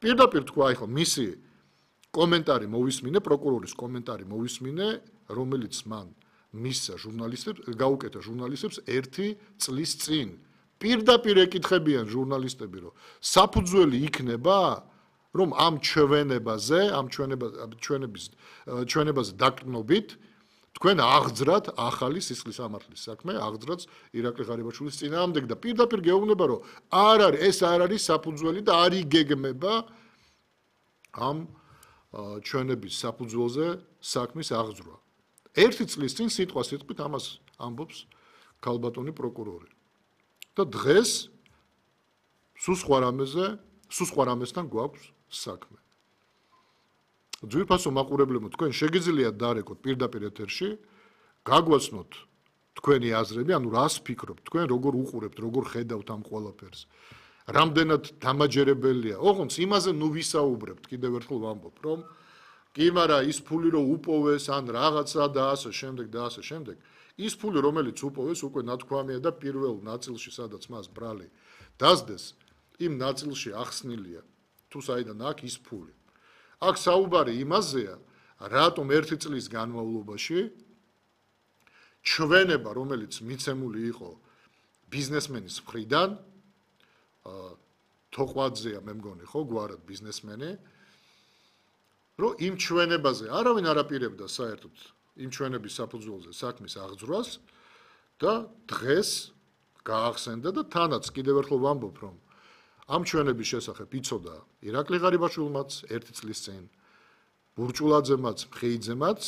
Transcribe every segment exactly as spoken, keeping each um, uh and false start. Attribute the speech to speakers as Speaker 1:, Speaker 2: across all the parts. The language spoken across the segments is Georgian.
Speaker 1: პირდაპირ თქვა, აი ხო, მისი კომენტარი მოვისმინე, პროკურორის კომენტარი მოვისმინე, რომელიც მან მისცა ჟურნალისტებს, გაუკეთა ჟურნალისტებს ერთი წლის წინ. პირდაპირ ეკითხებიან ჟურნალისტები, რომ საფუძველი იქნება, რომ ამ ჩვენებაზე, ამ ჩვენების ჩვენებაზე დაკნობით თქვენ აღძრათ ახალი სისხლის სამართლის საქმე, აღძრათ ირაკლი ღარიბაშვილის წინააღმდეგ და პირდაპირ გეუბნება, რომ არ არის ეს არ არის საფუძველი და არ იგეგმება ამ ჩვენების საფუძველზე საქმის აღძრვა. ერთი წლის წინ სიტყვა სიტყვით ამას ამბობს ქალბატონი პროკურორი. და დღეს სულ სხვა რამეზე, სულ სხვა რამესთან გვაქვს საქმე. ძვირფასო მაყურებლებო, თქვენ შეგიძლიათ დარეკოთ პირდაპირ ეთერში, გაგვაცნოთ თქვენი აზრები, ანუ რას ფიქრობთ, თქვენ როგორ უყურებთ, როგორ ხედავთ ამ ყველაფერს. რამდენად დამაჯერებელია. ოღონდ იმაზე ნუ ვისაუბრებთ, კიდევ ერთხელ ვამბობ, რომ კი, მაგრამ ის ფული რო უპოვეს, ან რაღაცა და ასე შემდეგ და ასე შემდეგ, ის ფული რომელიც უპოვეს, უკვე ნათქვამია და პირველ ნაწილში, სადაც მას ბრალი დასდეს, იმ ნაწილში ახსნილია, თუ საიდან აქვს ის ფული. აქ საუბარი იმაზეა, რატომ ერთი წლის განმავლობაში ჩვენება, რომელიც მიცემული იყო ბიზნესმენის მხრიდან, თოყვაძეა მე მგონი, ხო, გვარად ბიზნესმენი, რომ იმ ჩვენებაზე არავინ არ აპირებდა საერთოდ იმ ჩვენების საფუძველზე საქმის აღძრვას და დღეს გაახსენდა და თანაც კიდევ ერთხელ ვამბობ, რომ ამ ჩვენების შესახებ იცოდა ირაკლი ღარიბაშვილმაც ერთი წლის წინ, ბურჭულაძემაც, მხეიძემაც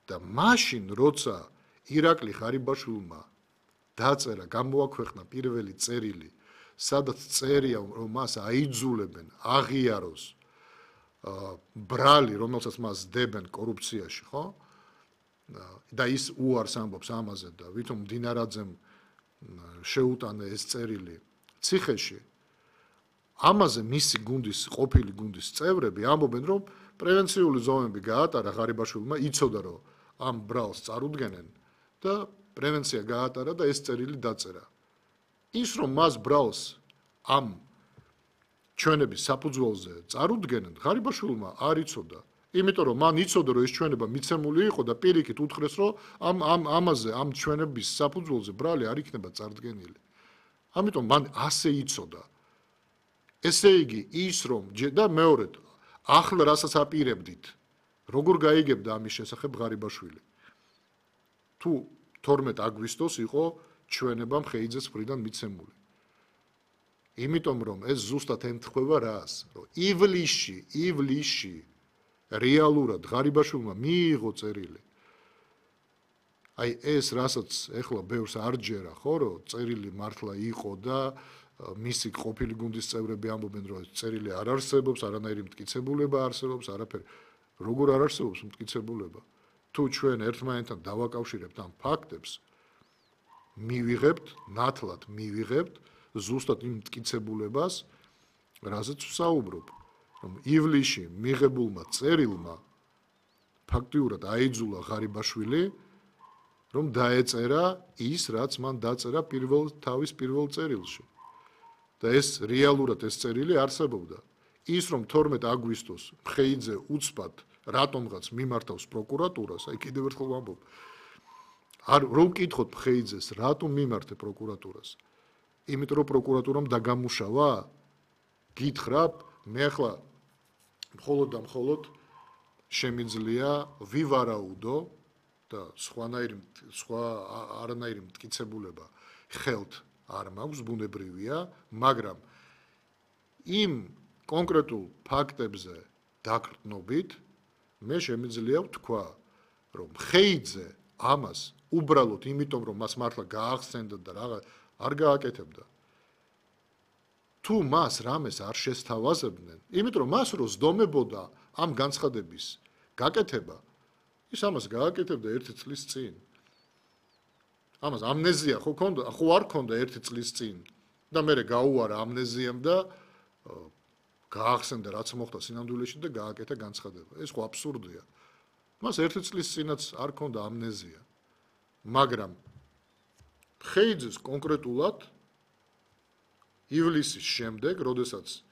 Speaker 1: და მაშინ როცა ირაკლი ღარიბაშვილმა დაწერა, გამოაქვეყნა პირველი წერილი, სადაც წერია, რომ მას აიძულებენ აღიაროს ბრალი, რომელსაც მას დებენ კორუფციაში, ხო? და ის უარს ამბობს ამაზე და ვითომ მდინარაძემ შეუტანა ეს წერილი ციხეში. ამაზე მისი გუნდის, ყოფილი გუნდის წევრები ამბობენ, რომ პრევენციული ზომები გაატარა ღარიბაშვილმა, იცოდა, რომ ამ ბრალს წარუდგენენ და პრევენცია გაატარა და ეს წერილი დაწერა. ის რომ მას ბრალს ამ ჩვენების საფუძველზე წარუდგენენ, ღარიბაშვილმა არ იცოდა. იმიტომ რომ მან იცოდა, რომ ეს ჩვენება მიცემული იყო და პირიქით უთხრეს, რომ ამ ამ ამაზე, ამ ჩვენების საფუძველზე ბრალი არ იქნება წარდგენილი. ამიტომ მან ასე იცოდა. ესე იგი, ის რომ და მეორედ, ახლა რასაც აპირებდით, როგორ გაიგებდა ამის შესახებ ღარიბაშვილი? თუ თორმეტ აგვისტოს იყო ჩვენება მხეიძეს მხრიდან მიცემული. იმიტომ რომ ეს ზუსტად ემთხვევა რას, რომ ივლისში, ივლისში რეალურად ღარიბაშვილმა მიიღო წერილი. აი ეს რასაც ეხლა ბევრს არ ჯერა, ხო, რომ წერილი მართლა იყო და მისი ყოფილი გუნდის წევრები ამბობენ, რომ ეს წერილი არ არსებობს, არანაირი მტკიცებულება არსებობს, არაფერი. როგორ არ არსებობს მტკიცებულება? თუ ჩვენ ერთმანეთთან დავაკავშირებთ ამ ფაქტებს, მივიღებთ, ნათლად მივიღებთ ზუსტად იმ მტკიცებულებას, რაზეც ვსაუბრობ, რომ ივლისში მიღებულმა წერილმა ფაქტიურად აიძულა ღარიბაშვილი, რომ დაეწერა ის, რაც მან დაწერა პირველ თავის პირველ წერილში. და ეს რეალურად ეს წერილი არსებობდა. ის რომ თორმეტ აგვისტოს მხეიძე უცბად რატომღაც მიმართავს პროკურატურას, აი კიდევ ერთხელ ვამბობ, არ რომ ვკითხოთ მხეიძეს, რატომ მიმართე პროკურატურას? იმიტომ რომ პროკურატურამ დაგამუშავა? გითხრათ, მე ახლა მხოლოდ და მხოლოდ შემიძლია ვივარაუდო და სხვანაირი სხვა არანაირი მტკიცებულება ხელთ არ მაქვს, ბუნებრივია, მაგრამ იმ კონკრეტულ ფაქტებზე დაგრდნობით მე შემიძლია ვთქვა, რომ მხეიძე ამას უბრალოდ იმიტომ რომ მას მართლა გაახსენდა და რაღაც არ გააკეთებდა. თუ მას რამეს არ შესთავაზებდნენ, იმიტომ რომ მას რო ზდომებოდა ამ განცხადების გაკეთება, ის ამას გააკეთებდა ერთი წლის წინ. ამას ამნეზია ხო ქონდა, ხო არ ქონდა ერთი წლის წინ და მე გაუარა ამნეზიამ და გაახსენდა რაც მოხდა სინამდვილეში და გააკეთა განცხადება. ეს ხო აბსურდია. მას ერთი წლის წინაც არ ქონდა ამნეზია. მაგრამ მხეიძეს კონკრეტულად ივლისის შემდეგ, როდესაც